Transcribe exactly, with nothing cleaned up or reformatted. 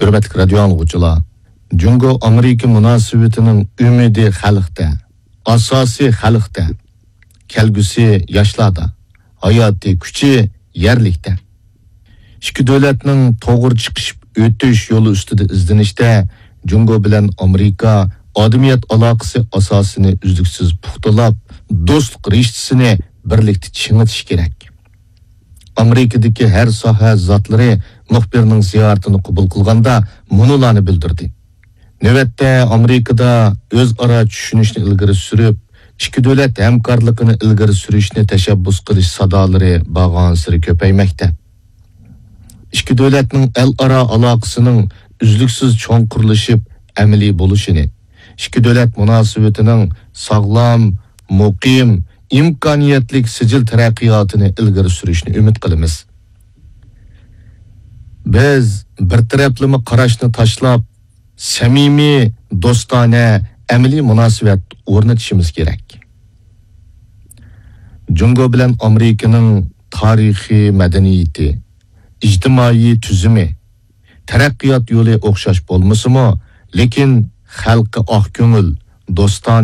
ھۆرمەتلىك رادىيو ئاڭلىغۇچىلار، جۇڭگو ئامېرىكا مۇناسىۋىتىنىڭ ئۈمىدى خەلقتە، ئاساسى خەلقتە، كەلگۈسى ياشلاردا، ھاياتىي كۈچى يەرلىكتە. ئىككى دۆلەتنىڭ توغرا چىقىشىپ ئۆتۈش يولى ئۈستىدە ئىزدىنىشتە جۇڭگو بىلەن ئامېرىكا ئادەمىيەت ئالاقىسى ئاساسىنى ئۈزلۈكسىز پۇختىلاپ، دوستلۇق رىشتىسىنى بىرلىكتە چىڭىتىش كېرەك. ئامېرىكىدىكى ھەر ساھە زاتلىرى مۇخبىرنىڭ زىيارىتىنى قوبۇل قىلغاندا مۇنۇلارنى بىلدۈردى. نۆۋەتتە ئامېرىكىدا ئۆزئارا چۈشىنىشنى ئىلگىرى سۈرۈپ، ئىككى دۆلەت ھەمكارلىقىنى ئىلگىرى سۈرۈشنى تەشەببۇس قىلىش سادالىرى بارغانسېرى كۆپەيمەكتە. ئىككى دۆلەتنىڭ ئەلئارا ئالاقىسىنىڭ ئۈزلۈكسىز چوڭقۇرلىشىپ ئەمەلىي بولۇشىنى، ئىككى دۆلەت مۇناسىۋىتىنىڭ ساغلام، مۇقىم، ئىمكانىيەتلىك سىجىل تەرەققىياتىنى ئىلگىرى سۈرۈشنى ئۈمىد قىلىمىز. بىز بىر تەرەپلىمە قاراشنى تاشلاپ، سەمىمىي، دوستانە، ئەمەلىي مۇناسىۋەت ئورنىتىشىمىز كېرەك. جۇڭگو بىلەن ئامېرىكىنىڭ تارىخىي مەدەنىيىتى، ئىجتىمائىي تۈزۈمى، تەرەققىيات يولى ئوخشاش بولمىسىمۇ، لېكىن خەلقى ئاق كۆڭۈل، دوستانە،